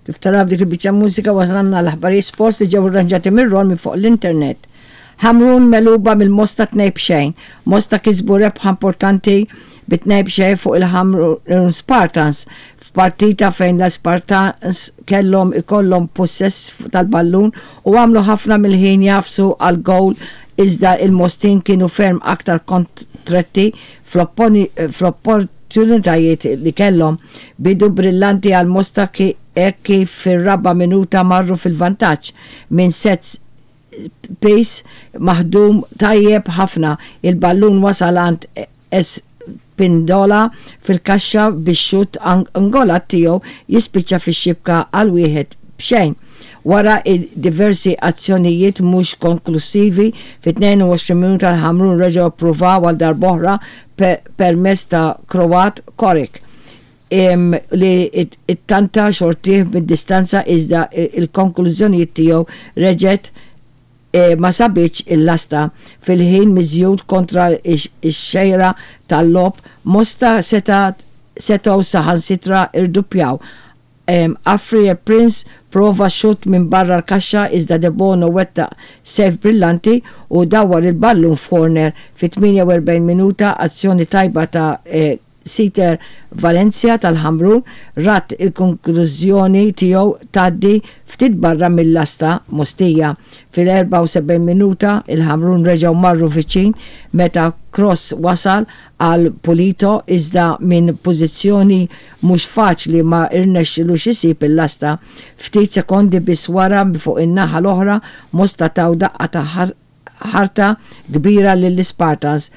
Kif taraw b'dik il-biċċa mużika wasalna l-aħbarijiet sports li ġew irranġati minn Ron minn fuq l-internet. Ħamrun megħluba mill-Mosta 2-0. Mosta kisbu rebħa importanti bi 2-0 fuq il-Ħamrun Spartans f'partita fejn l-Spartans kellhom ikollhom pussess tal-ballun u għamlu ħafna mill-ħin jagħfsu għall-gowl iżda il-Mostin kienu ferm aktar kontretti fl-opportunitajiet li kellhom. Bidu brillanti għal Mosta hekk kif fir-raba' minuta marru fil-vantaġġ minn set piece maħdum tajjeb ħafna. Il-ballun wasal għand Espindola fil-kaxxa bix-xutt angolat tiegħu jispiċċa fix-xibka għal 1-0. Wara diversi azzjonijiet mhux konklussivi, fit-22 minuta l-Ħamrun reġgħu ppruvaw għal darb'oħra permezz ta' Kroat Koric li ttanta xortih mid-distanza iżda l-konklużjonijiet tiegħu reġgħet ma sabitx il-lasta. Fil-ħin miżjud kontra x-xejra tal-logħob, Mosta setgħu saħansitra rduppjaw. Afrier Prince prova xutt minn barra l-kaxxa iżda Debono wettaq save brillanti u dawwar il-ballun f'corner. Fit-48 minuta azzjoni tajba ta' Siter Valencia tal-Ħamrun rat il-konklużjoni tiegħu tgħaddi ftit barra mil-lasta Mostija. Fil-74 minuta il-Ħamrun reġgħu marru viċin meta cross wasal għal Pulito iżda minn pożizzjoni mhux faċli ma rnexxilux isib il-lasta. Ftit sekondi biss wara fuq in-naħa l-oħra Mosta taw daqqa ta' ħarta kbira lill-Ispartans.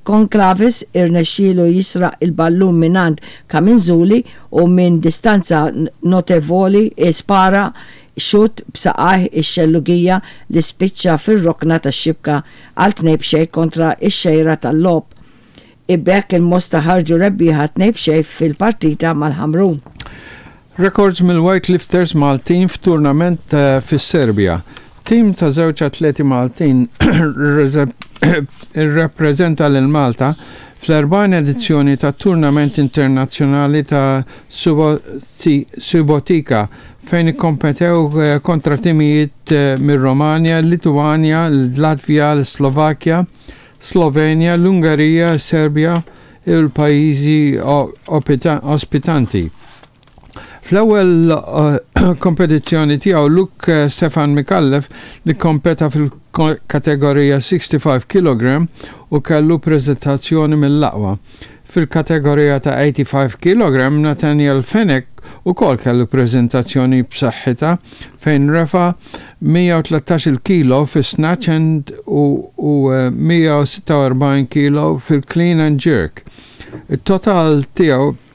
Conclavis irnexxielu jisraq il-ballun mingħand Camenzuli u minn distanza notevoli spara xutt b'saqajh ix-xellugija li spiċċa fir-rokna tax-xibka għal 2-0 kontra x-xejra tal-logħob. B'hekk il-Mosta ħarġu rebbieħa 2-0 fil-partita mal-Ħamrun. Rekords mill-weightlifters Maltin f'tournament fis-Serbja. Tim ta' żewġ atleti Maltin irrappreżenta lil Malta fl-40 edizzjoni tat-Tournament Internazzjonali ta' Subotica fejn ikkompetew kontra timijiet mir-Romanja, il-Litwanja, l-Latvja, l-Slovakkja, Slovenja, l-Ungerija, is-Serbja u l-pajjiżi ospitanti. Fl-ewwel kompetizzjoni tiegħu Luke Stefan Micallef li kkompeta fil-kategorija 65 kilogram u kellu preżentazzjoni mill-aqwa. Fil-kategorija ta' 85 kilogram Nathaniel Fenech ukoll kellu preżentazzjoni b'saħħitha fejn refa' 113-il kilo fis-snatch and u 146 kilo fil-clean and jerk. It-total tiegħu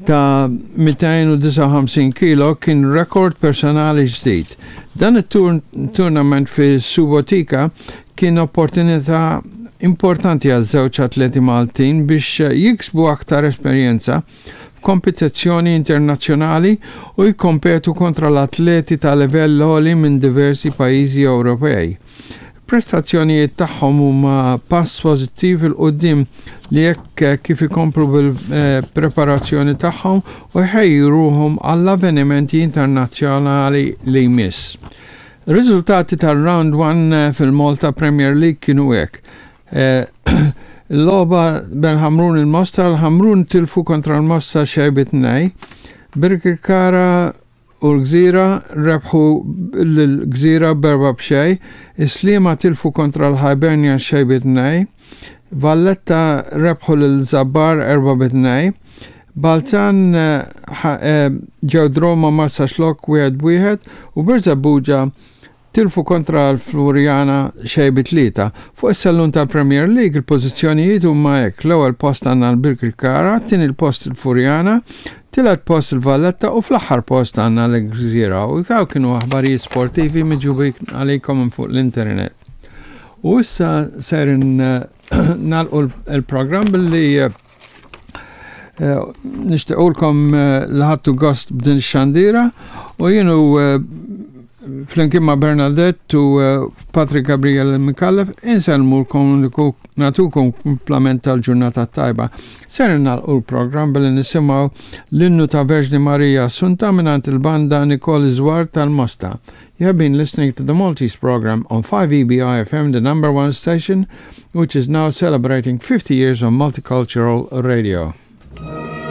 ta' 259 kilo kien rekord personali ġdid. Dan it-tournament fi Subotica kien opportunità importanti għaż-żewġ atleti Maltin biex jiksbu aktar esperjenza f'kompetizzjoni internazzjonali u jikkompetu kontra l-atleti ta' livell għoli minn diversi pajjiżi Ewropej. Il-prestazzjonijiet tagħhom huma pass pożittiv 'il quddiem li hekk kif ikomplu bil-preparazzjoni tagħhom u jħejju ruħhom għall-avvenimenti internazzjonali li jmiss. Ir-riżultati tar-Round 1 fil-Malta Premier League kienu hekk. Il-logħba bejn Ħamrun il-Mosta, l-Ħamrun tilfu kontra l-Mosta xejn bi tnej. Birkirkara u l-Gżira rebħu lill-Gżira b'erba' b'xejn, is-Sliema tilfu kontra l-Hibernians xejn bi tnejn, Valletta rebħu lil Żabbar erba' bi tnejn, Balzan ġew draw ma' Marsaxlokk wieħed b'wieħed u Birżebbuġa Tilfu kontra l-Floriana xejn bi tlieta. Fuq is-sellum tal-Premier League il-pożizzjonijiet huma hekk, l-ewwel post għandna l-Birkirkara, t-tieni post il-Furjana, tielet post il-Valletta u fl-aħħar post għandna l-Gżira. U dawn kienu aħbarijiet sportivi miġjubin għalikom minn fuq l-internet. U issa ser nagħlqu l-programm billi Nixtiequlkom li ħadtu gost b'din ix-xandira u jienu Flimkien ma' Bernadette u eh, Patrick Gabriel Mikallef insellmulkom natukom kumplament tal-ġurnata tajba. Ser nagħlqu l-programm billi nisimgħu l-innu ta' Verġni Marija Assunta mingħand il-banda Nicole Zwar tal-Mosta. You have been listening to the Maltese program on 5EBI FM, the number one station, which is now celebrating 50 years of multicultural radio.